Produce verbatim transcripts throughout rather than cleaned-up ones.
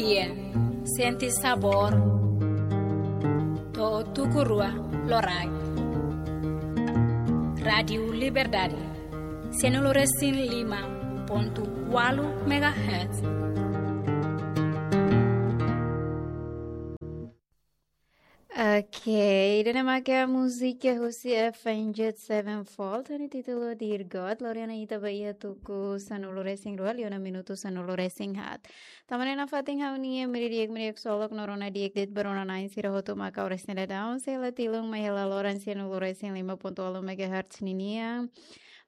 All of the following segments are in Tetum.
Iya, sente sabór. To'o tuku rua loraik. Rádiu Liberdade, sianulu resin lima pontu ualu megahertz. Oke, ida-ne'e mak múzika husi Avenged Sevenfold, ho títulu Dear God. Lori ona ita ba iha tuku sanulu resin rua, liu ona minutu sanulu resin haat. Tanba ne'e nafatin ha'u-nia media di'ak, media ksolok no rona di'ak de'it ba rona-na'in sira hotu mak oras ne'e daudaun, sei la tilun mai hela loron sianulu resin lima pontu ualu megahertz ninian.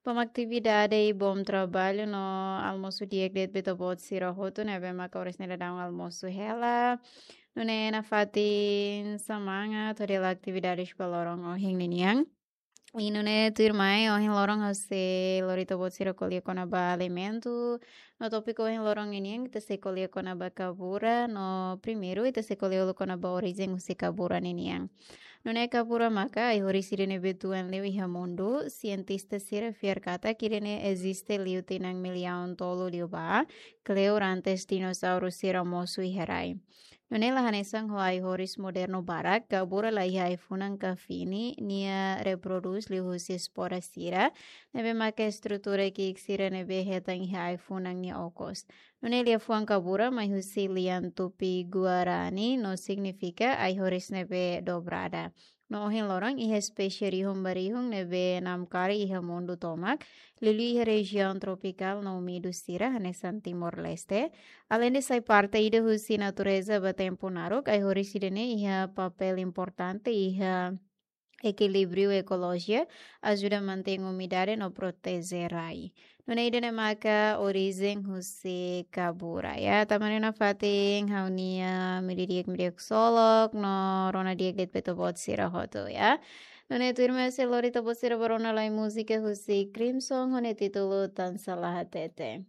Ba mak atividade i bom trabalho no almosu di'ak de'it ba ita-boot sira hotu ne'ebé mak oras ne'e daudaun almosu hela. Nune'e nafatin semangat hodi halo atividade ba loron ohin ninian. I nune'e tuirmai ohin loron ha'u sei lori ita-boot sira ko'alia kona-ba alimentu. No tópiku ohin loron ninian ita sei ko'alia kona-ba kabura. No primeiru ita sei ko'alia uluk kona-ba orijen husi kabura ninian. Nune'e kabura maka ai-horis ida ne'ebé tuan liu iha mundu. Sientista sira fiar katak ida-ne'e eziste liu tinan millaun tolu liubá, kleur antes dinosauru sira mosu iha rai. Nune'e la hanesan ho ai-horis modernu barak, kabura la iha ai-funan ka fini, nia reprodús liuhusi espora sira, ne'ebé maka estrutura ki'ik sira ne'ebé hetan iha ai-funan nia okos. Nune'e liafuan kabura mai husi lian Tupi-Guarani no signifika ai-horis ne'ebé dobrada. No ohin loron iha espésie rihun ba rihun ne'ebé namkari iha mundu tomak, liuliu iha rejiaun tropikál no úmidu sira hanesan Timor-Leste. Aleinde sai parte ida husi natureza ba tempu naruk, ai-horis ida-ne'e iha papél importante iha ekilíbriu ekolojia, ajuda mantein umidade no proteje rai. Nune'e ida-ne'e maka orijen husi kabura, ya. Tanba ne'e nafatin ha'u-nia media di'ak, media ksolok no rona di'ak de'it ba ita-boot sira hotu, ya. Nune'e tuirmai sei lori ita-boot sira ba rona lai múzika husi Crimson ho nia títulu Tan Sala Hatete.